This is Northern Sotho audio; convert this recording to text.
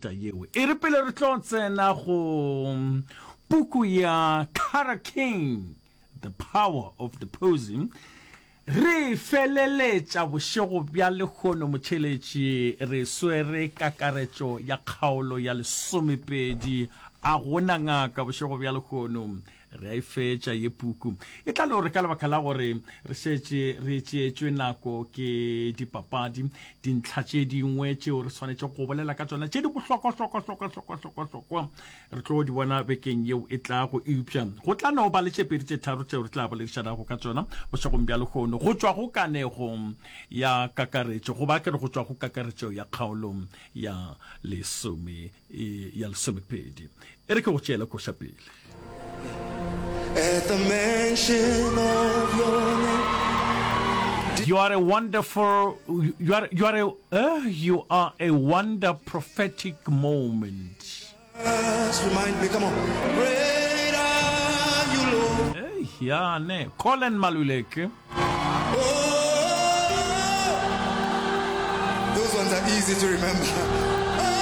mehuta yeo. E re pele re tlo tsena go puku ya Carter King, The Power of the Posy, re feleletša bošego bja lehono motšheletši re swere kakaretšo ya kgaolo ya lesomepedi. A gona ngaka bošego bja lehono. Re a e fetša ye puku. E tla le gore ka lebaka la gore re šetše re tšeetšwe nako ke dipapadi, dintlha tše dingwe tšeo re swanetše go bolela ka tšona tše di bohlokwa-hlokwa-hlokwa-hlokwa-hlokwa-hlokwa re tlo di bona bekeng yeo e tlago. Eupša go tla no ba le tše pedi tše tharo tšeo re tla boledišanago ka tšona bošegong bja lehono go tšwa go kanego ya kakaretšo, goba ke re go tšwa go kakaretšo ya kgaolo ya lesome ya lesomepedi. E re ke go tšeele koša pele. At the mention of your name. You are a wonderful, you are, you are a, uh, you are a wonder prophetic moment. Just remind me, come on. Great are you, Lord. Hey, ya ne, Colin Maluleke. Oh, those ones are easy to remember.